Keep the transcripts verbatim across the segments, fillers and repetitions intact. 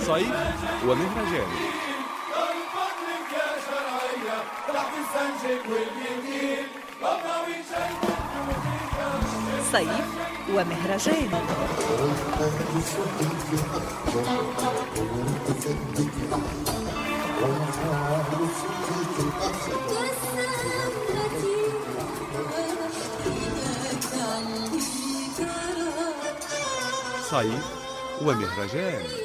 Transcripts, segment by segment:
صيف ومهرجان. صيف ومهرجان. صيف ومهرجان.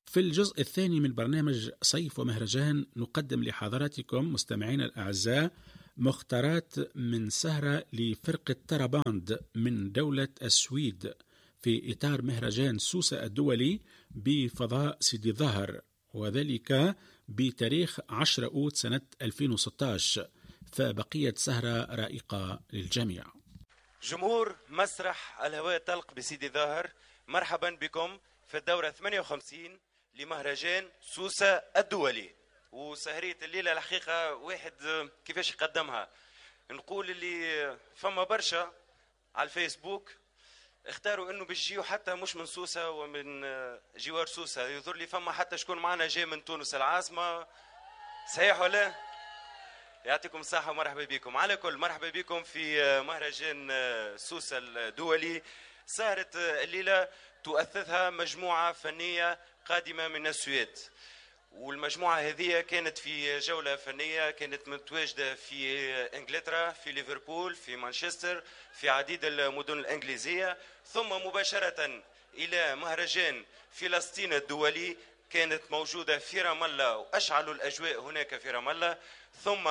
في الجزء الثاني من برنامج صيف ومهرجان نقدم لحضراتكم مستمعينا الأعزاء مختارات من سهرة لفرقة تراباند من دولة السويد في إطار مهرجان سوسة الدولي بفضاء سيدي ظاهر، وذلك بتاريخ عشرة أوت سنة ألفين وستة عشر. فبقيت سهرة رائقة للجميع. جمهور مسرح الهواء الطلق بسيدي ظاهر، مرحبا بكم في الدورة ثمانية وخمسين لمهرجان سوسة الدولي. وسهرية الليلة الحقيقة واحد كيفاش يقدمها، نقول اللي فما برشا على الفيسبوك اختاروا انه باش يجيو حتى مش من سوسة ومن جوار سوسة، يظهر لي فما حتى شكون معنا جاي من تونس العاصمة، صحيح ولا؟ يعطيكم الصحة ومرحبا بكم. على كل مرحبا بكم في مهرجان سوسة الدولي. سهرة الليلة تؤثثها مجموعة فنية قادمة من السويد، والمجموعة هذه كانت في جولة فنية، كانت متواجدة في إنجلترا، في ليفربول، في مانشستر، في عديد المدن الإنجليزية، ثم مباشرة إلى مهرجان فلسطين الدولي كانت موجودة في رام الله وأشعلوا الأجواء هناك في رام الله، ثم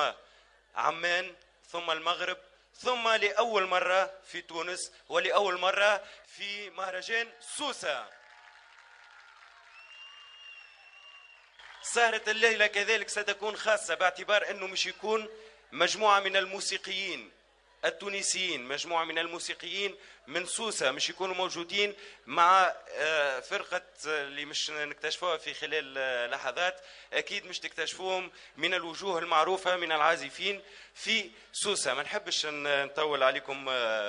عمان، ثم المغرب، ثم لأول مرة في تونس ولأول مرة في مهرجان سوسة. سهرة الليلة كذلك ستكون خاصة باعتبار أنه مش يكون مجموعة من الموسيقيين التونسيين، مجموعة من الموسيقيين من سوسة مش يكونوا موجودين مع فرقة اللي مش نكتشفوها في خلال لحظات، أكيد مش تكتشفوهم من الوجوه المعروفة من العازفين في سوسة. ما نحبش نطول عليكم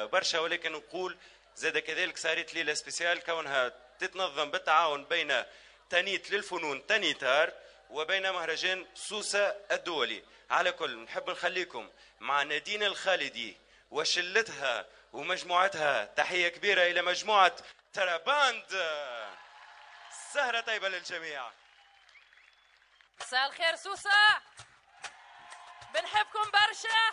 برشا، ولكن نقول زاد كذلك سهرة ليلة spéciale كونها تتنظم بالتعاون بين تانيت للفنون تانيتار وبين مهرجان سوسة الدولي. على كل نحب نخليكم مع نادين الخالدي وشلتها ومجموعتها. تحية كبيرة إلى مجموعة تراباند. سهرة طيبة للجميع. مساء الخير سوسة، بنحبكم برشا.